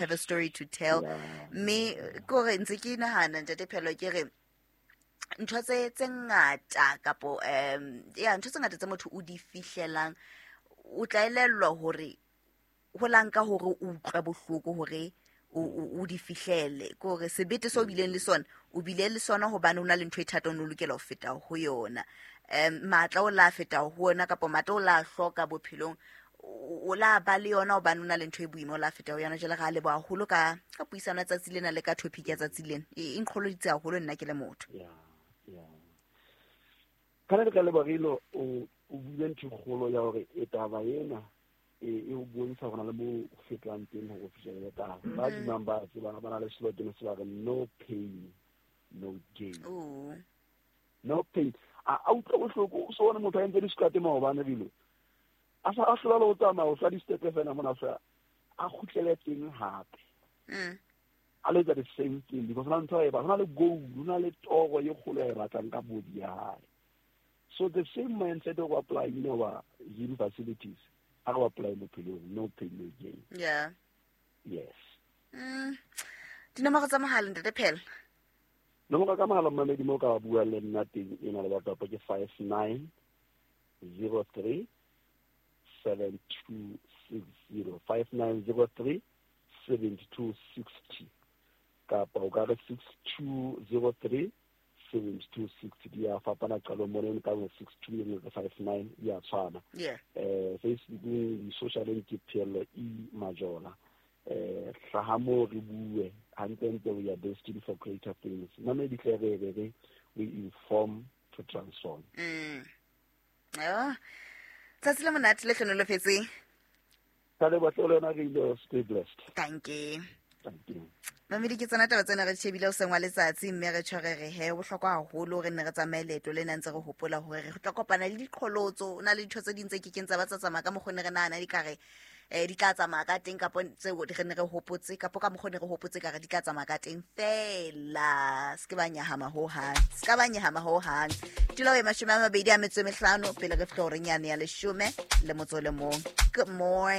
Have a story to tell. Mme ke gore ntse ke nahana, Ntate Phelo, ke re ntho tse ngata kapo ya ntho tse ngata tse motho o di fihlelang, o tla elellwa hore ho la nka hore o utlwe bohloko hore o di fihlele. Ke hore sebete se o bileng le sona, o bile le sona hobane o na le ntho e thata, o ne o lokela ho feta ho yona. Matla o la feta ho yona, kapa matla o la hloka bophelong, o la ba le yona hobane o na le ntho e boima, o la feta ho yona. Jwale re a leboha haholo ka puisano ya tsatsi lena le ka topic ya tsatsi lena. E nqholoditse haholo nna ke le motho. Yeah. Kana le ka lebohile, o buile ntho e kgolo ya hore e taba ena e o bontsha hore na le mo o fetang teng hore o fihlele taba. Ba dumang ba tseba, ba na le slogan se ba re, "No pain, no gain." No pain. A utlwa bohloko, o so bone motho a entse di-squat maobane bile a sa a hlola le ho tsamaya, o hlwa di-step fela mona, sa a kgutlele teng hape, a lo etsa the same thing, because hona ntho e ba hona le goal, hona le toro e kgolo e batlang ka body ya hae. So the same mindset o apply in our gym facilities, a re apply bophelong: no pain, no gain. Yes. Dinomoro tsa mohala, Ntate Phela? Nomoro ka mohala, mmamedi, mo ka bua le nna teng e na le batho ke 5903 7260, 5903 7260, kapa o ka re 6203 7260. Di a fapana qalong mone ka 62 le 59, di a tshwana. Facebookeng, di-socialeng ke Pheello E Majola. Hlaha mo re bue hantlentle. We are destined for greater things. Mamedi tle re we inform to transform. Oh. Tsatsi le monate le hlonolofetseng. Ka leboha hle le yona re ile. Stay blessed. Thank you. Thank you. Mamedi, ke tsona taba tsena re shebile ho seng wa letsatsi, mme re tjho re re he bohlokwa haholo re nne re tsamaye leeto lena ntse re hopola hore re tla kopana le diqholotso. O na le dintho tse ding tse kekeng tsa ba tsa tsamaya ka mokgwa ne re nahana di ka re di tla tsamaya ka teng, kapo tseo re ne re hopotse, kapo ka mokgwa ne re hopotse ka re di tla tsamaya ka teng. Fela se ke ba nyahama hohang, se ka ba nyahama hohang. Tulo e 25 pele re fihla horeng yane ya 11. Good morning.